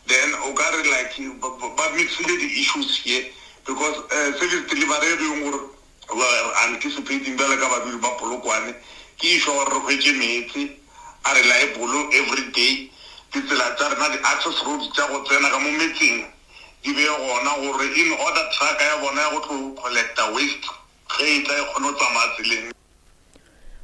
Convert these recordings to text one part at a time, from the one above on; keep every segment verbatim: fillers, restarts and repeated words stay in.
Then o ka re like ba ba mixile di-issues here because uh, service delivery e leng gore we are anticipating bjale ka badudi ba Polokwane ke issue gore re hwetše meetse a reliable every day ditsela tša rena di-access roads tša go tsena ka mo metseng di be gona gore in order truck ya bona ya go tlo collecta waste ge e tla e kgone go tsamaya tseleng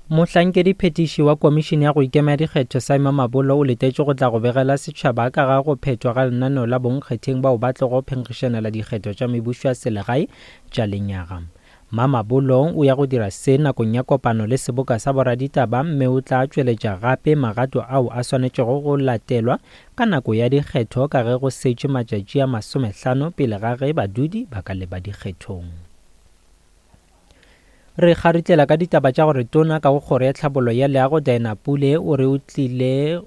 Mohlankedi phetiši wa Komišene ya go Ikema Dikgetho Simon Mabolo o letetše go tla go begela setšhaba ka ga go phethwa ga lenaneo la bonkgetheng bao ba tlogo phenkgišanela dikgetho tša mebušo ya selegae tša lenyaga. Mamabolo o ya go dira se nakong ya kopano le seboka sa boraditaba mme o tla tšweletša gape magato ao a swanetšego go latelwa ka nako ya dikgetho ka ge go setše matšatši a masomehlano pele ga ge badudi ba ka leba dikgethong. Re kgaritlela ka ditaba tša gore tona ka go kgoro ya tlhabollo ya leago Diana Pule o re o tlile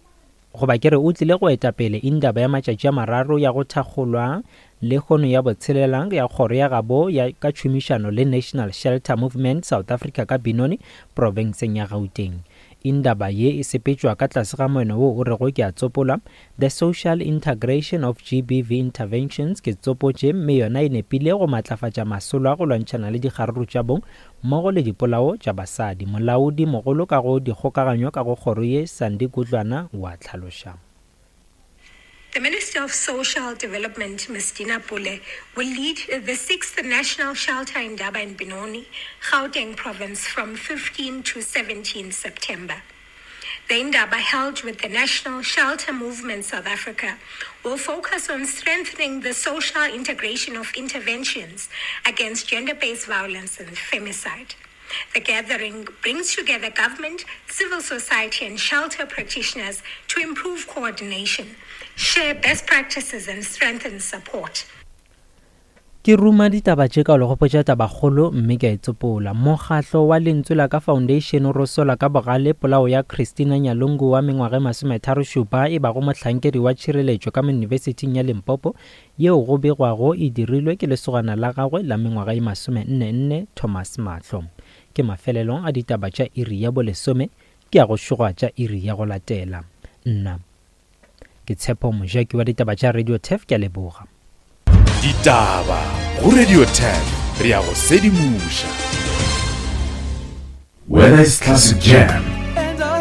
goba ke re o tlile go eta pele indaba ya matšatši a mararo ya go thakgolwa lehono ya botshelela ya kgoro ya gabo ya ka tšhomišano le National Shelter Movement South Africa ka Benoni profenseng ya Gauteng. Indaba ye e sepetšwa ka tlase ga moeno wo o rego ke a tsopola The Social Integration of GBV Interventions ke tsopotše mme yona e nepile go matlafatša masolo a go lwantšhana le dikgaruru tša bong mmogo le dipolao tša basadi. Molaodi mogolo ka go dikgokaganyo ka go kgoro ye Sandy Gudlwana wa tlhaloša. The Minister of Social Development, Ms. Dina Pule, will lead the sixth National Shelter Indaba in Benoni, Gauteng Province, from fifteen to seventeen September. The Indaba, held with the National Shelter Movement South Africa, will focus on strengthening the social integration of interventions against gender-based violence and femicide. The gathering brings together government, civil society and shelter practitioners to improve coordination, share best practices and strengthen support. Ke ruma ditaba tše ka go gopotša tabakgolo mme ke a e tsopola. Mokgatlo wa Lentswe la ka Foundation o rosola ka bogale polao ya Christina Nyalungu wa mengwaga e masometharo šupa e bago mohlankedi wa tšhireletšo ka Yunibesithing ya Limpopo yeo go begwago e dirilwe ke lesogana la gagwe la mengwaga e masome nne nne Thomas Mahlo. Ke mafelelong a ditaba tša iri ya bolesome ke ya go šoga tša iri ya go latela. Nna ke Tshepo Mojaki wa ditaba tša Radio Turf, ke a leboga. Ditaba go Radio Turf, re ya go sedimoša. Whether it's classic jam